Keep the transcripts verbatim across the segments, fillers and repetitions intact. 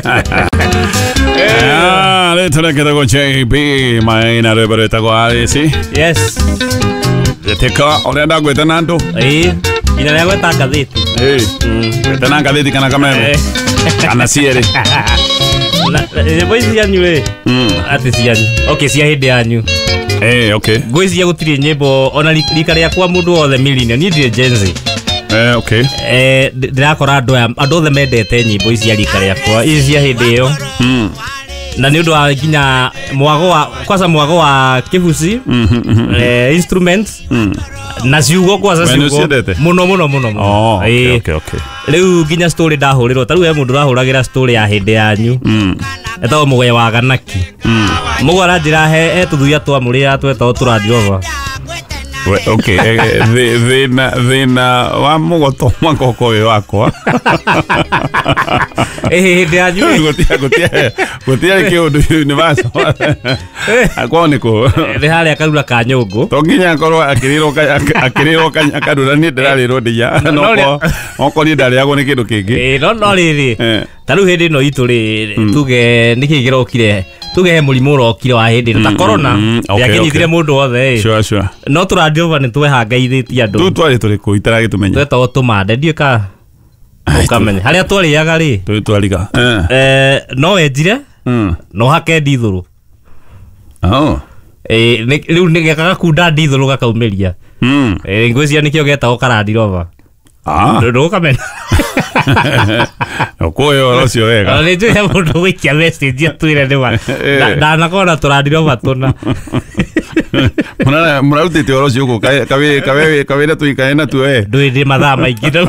Ah, rĩtwa rĩake etagwo J B Maina, rwĩmbo rwĩtagwo Alice. Yes. Gĩtĩka ũrĩa ndagwĩta na andũ. Ĩĩ, nginya rĩa gweta ngathĩti. Gwĩta na ngathĩti kana kameme Eh. kana cierĩ. Na- nyĩmbo ici cianyu rĩ, atĩ cianyu, okay, cia hĩndĩ yanyu. Eh, okay. Ngwĩciria gũtirĩ nyĩmbo ona ri- rika rĩakwa, mũndũ wothe millennial, niĩ ndirĩ Gen Z. Eh, okay. Eh, ndĩ- ndĩrakora andũ aya, andũ othe mendete nyĩmbo ici cia rika rĩakwa, ici cia hĩndĩ ĩyo, na nĩ ũndũ wa nginya mwago wa kwanza, mwago wa kĩbuci, eh, instruments na ciugo kwanza. We nĩ Ciugo. ũciendete? Mũno mũno mũno mũno. Oh, okay, Ĩĩ. okay, okay. Rĩu nginya story ndahũrĩrwo, ta rĩu he mũndũ ũrahũragĩra story ya hĩndĩ yanyu, etagwo Mũgwe wa Ganaki. Mũgwe aranjĩra he he tũthuia twamũrĩaga twetagwo tũrandirova. We, okay, eh, eh, thĩ- thĩna thĩna wa mũgoto mwaka ũkorwo wĩ wakwa. Ĩhĩ, hĩndĩ yanyu ĩ. Gũtia- gũtia- gũtiarĩ kĩũndũ universal kwao nĩ kũ? Nĩ harĩa Karura ka nyũngũ. To nginya akorwo akĩrĩrwo ka- ak- akĩrĩrwo ka- karura, niĩ ndĩrarĩrwo ndia. No, Okorwo okorwo niĩ ndarĩagwo nĩ kĩndũ kĩngĩ. Ĩĩ, no no rĩrĩ, Eh. ta rĩu hĩndĩ ĩno itũ rĩ, tuge nĩkĩ kĩrokire, tuge he mũrimũ ũrokire wa hĩndĩ ĩno ta corona, mm, okay, ndĩakĩnyitire okay. mũndũ wothe ĩ. Sure, sure. No tũrandirova nĩ twehangaithĩtie andũ. Tu twarĩ tũrĩkũ itaragĩtũmenya? Twetagwo tũmande, ndiũĩ ka ũkamenya harĩa twarĩaga rĩ. Tũrĩ twariga. Eh. Eh, no wenjire Mm. no hake ndithũrũ. Oh. Ĩ, nĩ- rĩu nĩ gakunda ndithũrũ gakaumĩria. Mm. Ĩ, ngwĩciria nĩkĩo getagwo karandirova. Ah. Ndũkamenya. Ũkũĩ ũhoro ũcio wega. Ona nĩ njũĩ he mũndũ gũikia message atwĩre nĩ ma. Eh. Na- ndanakorwo na tũrandirova tũna. Mũra- mũrarutĩte ũhoro ũcio gũkũ kawĩra tũikare natuo eh. Ndũĩ ndĩ mathaa maingĩ rĩu.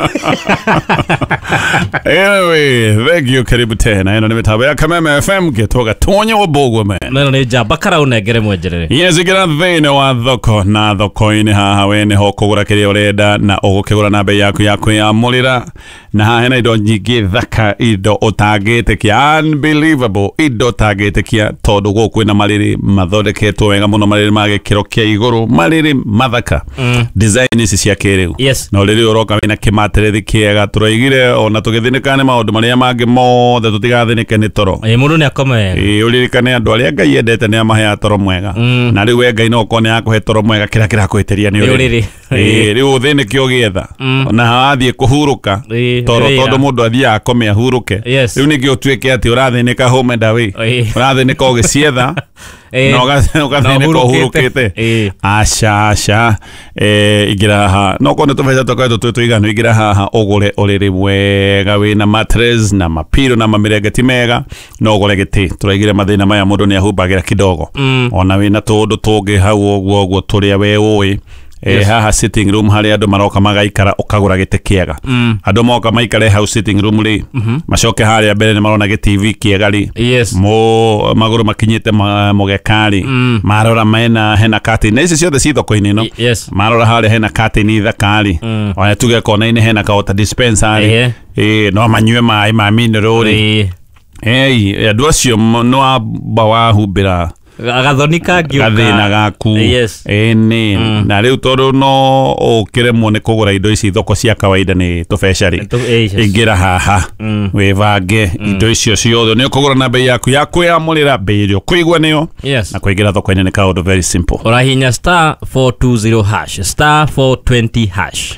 Anyway, thank you, karibu tena. Ĩno nĩ mĩtambo ya Kameme F M, gĩtwo Gatonyo wa Mbũguo man. Neno nĩ njamba karaũnengere mwenjerere. Yes, ingĩra thĩinĩ wa thoko, na thoko-inĩ haha we nĩho ũkũgũra kĩrĩa ũrenda na ũgũkĩgũra na bei yaku ya kwĩyamũrĩra, na haha hena indo nyingĩ thaka, indo ũtangĩtĩkia, unbelievable, indo ũtangĩtĩkia, tondũ gũkũ kwĩna marĩrĩ mathondeketwo wega mũno, marĩrĩ ma gĩkĩro kĩa igũrũ, marĩrĩ mathaka, design ici cia kĩrĩu. Yes. Na ũrĩrĩ ũroka wĩna kĩmaterethi kĩega. Tũroigire ona tũgĩthĩnĩka nĩ maũndũ marĩa mangĩ mothe, tũtigathĩnĩke nĩ toro. Ĩ, mũndũ nĩ akome wega. Ĩĩ, ũririkane andũ arĩa Ngai endete nĩ amaheaga toro mwega, na rĩu we Ngai no ũkorwo nĩ akũhe toro mwega, kĩrĩa kĩrakũhĩtĩria nĩ Nĩ ũrĩrĩ. ũrĩrĩ. Ĩĩ, rĩu ũthĩnĩke ũgĩetha ona wathiĩ kũhurũka Ĩĩ, toro, wĩra. tondũ mũndũ athiaga akome ahurũke. Yes. Rĩu nĩkĩo ũtuĩke atĩ ũrathĩnĩka home and away, Ĩĩ. ũrathĩnĩka ũgĩcietha Ĩĩ. na ũga- ũgathĩnĩka Na ũhurũkĩte. ũhurũkĩte. Ĩĩ. Aca, aca, eh, ingĩra haha, no korwo nĩ tũbeca tũkoretwo twĩ tũiganu, ingĩra haha ũgũre ũrĩrĩ wega wĩna mattress na mapiro na mamĩrengeti mega, no ũgũre gĩtĩ. Tũraigire mathĩna maya mũndũ nĩ ahumbagĩra kidogo, ona wĩna tũũndũ tũngĩ hau ũguo ũguo tũrĩa we ũĩ. Eh, Yes. Haha sitting room harĩa andũ maroka magaikara, ũkagũra gĩtĩ kĩega, andũ moka maikare hau sitting room rĩ, macoke harĩa mbere nĩ marona gĩ T V kĩega rĩ, Yes. mo magũrũ makinyĩte ma- mũgeka rĩ, marora mena hena curtain, na ici ciothe ci thoko-inĩ ĩno. Yes. Marora harĩa hena curtain thaka rĩ, ona tuge kona-inĩ hena ka water dispenser rĩ, Ehe. ĩ no manyue maĩ ma mineral rĩ. Ĩĩ. Ei, andũ acio mo- nĩ wamba wahumbĩra Gathoni kangĩũka. Gathĩna gaku. Yes. Ĩni na rĩu tondũ no ũkĩremwo nĩ kũgũra indo ici thoko cia kawaida nĩ tũbeca rĩ, Tũ- ĩ, yes. ingĩra haha wĩbange indo icio ciothe nĩ ũkũgũra na bei yaku ya kwĩyamũrĩra, bei ĩrĩa ũkũigua nĩyo. Yes. Na kũingĩra thoko-inĩ nĩ kaũndũ very simple. Ũrahihinya star four two zero hash, star four twenty hash.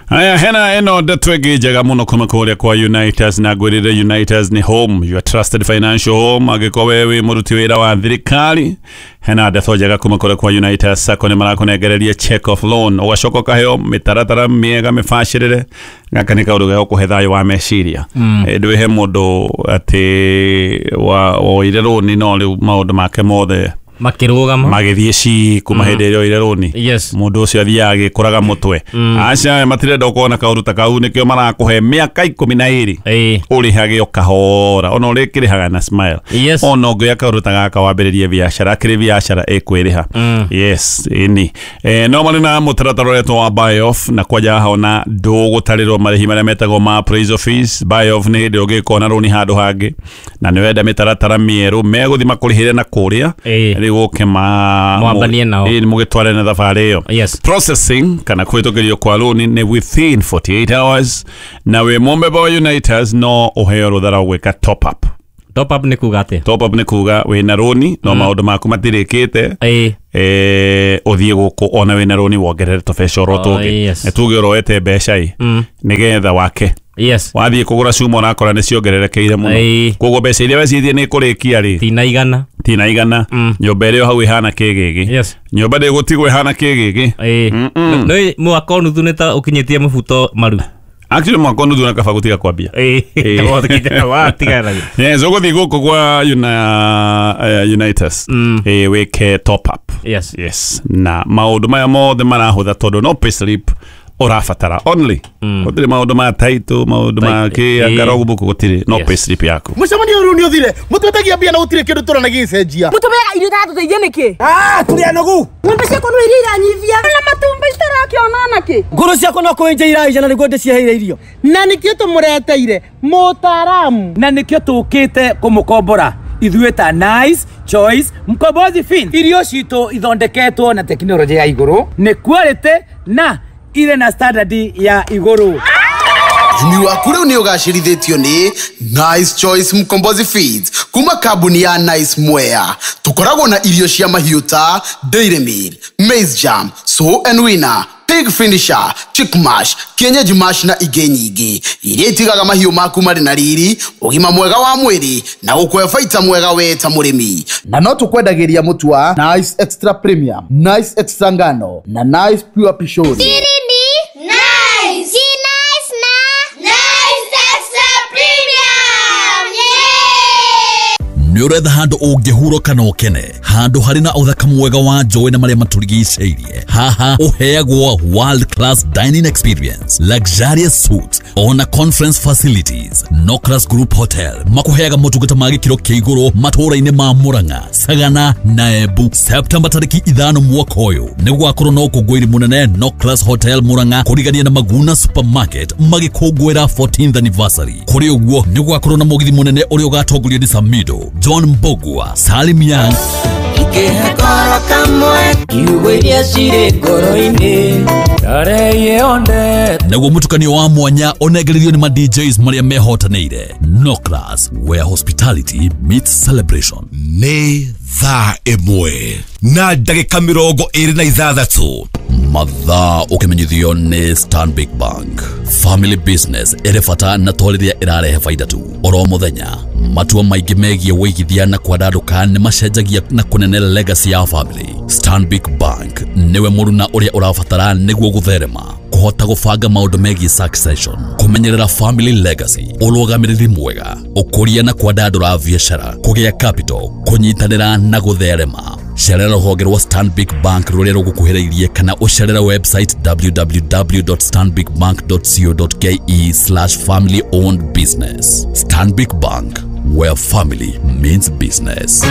Haya, hena ĩno ndeto ĩngĩ njega mũno kuma kũrĩa kwa Unitas, na ngwĩrĩre Unitas nĩ home, your trusted financial home. Angĩkorwo we wĩ mũruti wĩra wa thirikari, hena ndeto njega kuma kũrĩa kwa Unitas Sacco, nĩ marakũnengereria check off loan, ũgacoka ũkaheo mĩtaratara mĩega mĩbacĩrĩre. Gaka nĩ kaũndũ ga gũkũhe thayũ wa meciria mm. Ndwĩhe mũndũ atĩ wa- woire rũni no rĩu maũndũ make mothe Makĩrũgama. Magĩthiĩ ci kuma hĩndĩ ĩrĩa oire rũni. Yes. Mũndũ ũcio athiaga agĩkũraga mũtwe. Aca, matirenda ũkorwo na kaũndũ ta kau, nĩkĩo marakũhe mĩaka ikũmi na ĩrĩ Ĩĩ. ũrĩhage o kahora, ona ũrĩkĩrĩhaga na smile. Yes. Ona ũngĩoya kaũndũ ta gaka wambĩrĩrie biacara, akĩrĩ biacara ĩkwĩrĩha. Yes, ĩni eh, no marĩ na mũtaratara ũretwo wa buy off, na kwanja haha ona ndũgũtarĩrwo marĩhi marĩa metagwo ma appraisal fees. Buy off nĩ hĩndĩ ũngĩkorwo na rũni handũ hangĩ na nĩ wenda mĩtaratara mĩerũ, megũthiĩ makũrĩhĩre na kũrĩa. Ĩĩ. Rĩu ũke ma Mwambanie nao. Ĩĩ, mũgĩtware na thabarĩ ĩyo. Yes. Processing kana kũhĩtũkĩrio kwa rũni nĩ within forty-eight hours, na wĩ mũmemba wa Unitas no ũheo rũtha rwa gwĩka top up. Top up nĩ kuga atĩa? Top up nĩ kuga wĩna rũni no maũndũ maku matirĩkĩte, Ĩĩ. eh ũthiĩ gũkũ ona wĩna rũni wongerere tũbeca oro Oh, tũngĩ. yes. Nĩ tuge ũroete mbeca ĩ nĩgetha wake, Yes. wathiĩ kũgũra cuma ũrakora nĩ ciongererekeire mũno, Ĩĩ. koguo mbeca iria wecirie nĩ kũrĩkia rĩ, Tina igana. tina igana. Nyũmba ĩrĩa hau ĩhana kĩgĩgĩ, Yes. nyũmba ndĩgũtigwo ĩhana kĩgĩgĩ. Ĩĩ. Nĩ mwaka o nuthu nĩ ta ũkinyĩtie mũbuto maru. Actually mwaka nuthu na kaba gũtiga kwambia. Ĩĩ. Watigana. Yes, ũgũthiĩ gũkũ kwa una, uh, Unitas, eh, wĩke top up. Yes. Yes, na maũndũ maya mothe marahũtha tondũ no payslip ũrabatara only, gũtirĩ maũndũ ma title, maũndũ ma Title, kĩ ĩĩ. anga logbook gũtirĩ, no Yes. payslip yaku. Mũcemanio ũyũ nĩ ũthire, mũtwetagia mbia na gũtirĩ kĩndũ tũrona gĩgĩcenjia. Mũtũmĩaga irio itatũteithia nĩkĩ? Ah, tũrĩ anogu. Ng'ombe ciakwa no iria iranyivia na matumbĩ citarakĩona nakĩ. Ngũrũ ciakwa no kũenja iraija na nĩguo ndĩciheire irio. Na nĩkĩo tũmũreteire mũtaaramu. Na nĩkĩo tũkĩte kũmũkombora ithuĩ ta Nice Choice Mkombozi Fin. Irio citũ ithondeketwo na tekinoronjĩ ya igũrũ, nĩ quality na irĩ na standard ya igũrũ. Ũrĩmi waku rĩu nĩ ũgacĩrithĩtio nĩ Nice Choice Mkombozi Feeds kuma kambuni ya Nice Mwea. Tũkoragwo na irio cia mahiũ ta Dairy Meal, Maize Jam, Sow and Winner, Pig Finisher, Chick Mash, Kienyeji Mash na ingĩ nyingĩ iria itigaga mahiũ maku marĩ na riri, ũgima mwega wa mwĩrĩ na gũkũhe baita mwega we ta mũrĩmi. Na no tũkwendagĩria mũtu wa Nice Extra Premium, Nice Extra Ngano na Nice Pure Pishori. Siri ni nice. Si nice na Nice Extra Premium. Yeah! Nĩ ũretha handũ ũngĩhurũka na ũkene, handũ harĩ na ũthaka mwega wa njũĩ na marĩa matũrigicĩirie. Haha ũheagwo world class dining experience, luxurious suites ona conference facilities. Nocras Group Hotel makũheaga motungata ma gĩkĩro kĩa igũrũ matũũra-inĩ ma Murang'a, Sagana na Embu. Septemba tarĩki ithano mwaka ũyũ nĩ gũgakorwo na ũkũngũĩri mũnene Nocras Hotel Murang'a kũrigania na Maguna Supermarket magĩkũngũĩra fourteenth anniversary. Kũrĩ ũguo nĩ gũgakorwo na mũgithi mũnene ũrĩa ũgatongorio nĩ Samido, John Mbogua, Salim Young, Ikĩhekoro kamwe kiugo iria cirĩ ngoro-inĩ Tarehe onde. Naguo mũtukanio wa mwanya ũnengererio nĩ ma D Js marĩa mehotanĩire. Nocras, where hospitality meets celebration. Nĩ thaa ĩmwe na ndagĩka mĩrongo ĩrĩ na ithathatũ. Mathaa ũkĩmenyithio nĩ Stanbic Bank. Family business ĩrĩ bata na to rĩrĩa ĩrarehe baida tu. Oro mũthenya matua maingĩ megiĩ wĩigithia na kwandandũka nĩ macenjagia na kũnene legacy ya family. Stanbic Bank nĩwe mũruna ũrĩa ũrabatara nĩguo gũtherema, kũhota gũbanga maũndũ megiĩ succession, kũmenyerera family legacy, ũrũgamĩrĩri mwega, ũkũria na kwandandũra biacara, kũgĩa capital, kũnyitanĩra na gũtherema. Cerera rũhonge rwa Stanbic Bank rũrĩa rũgũkuhĩrĩirie kana ũcerere website w w w dot stanbic bank dot co dot k e slash family owned business. Stanbic Bank, where family means business.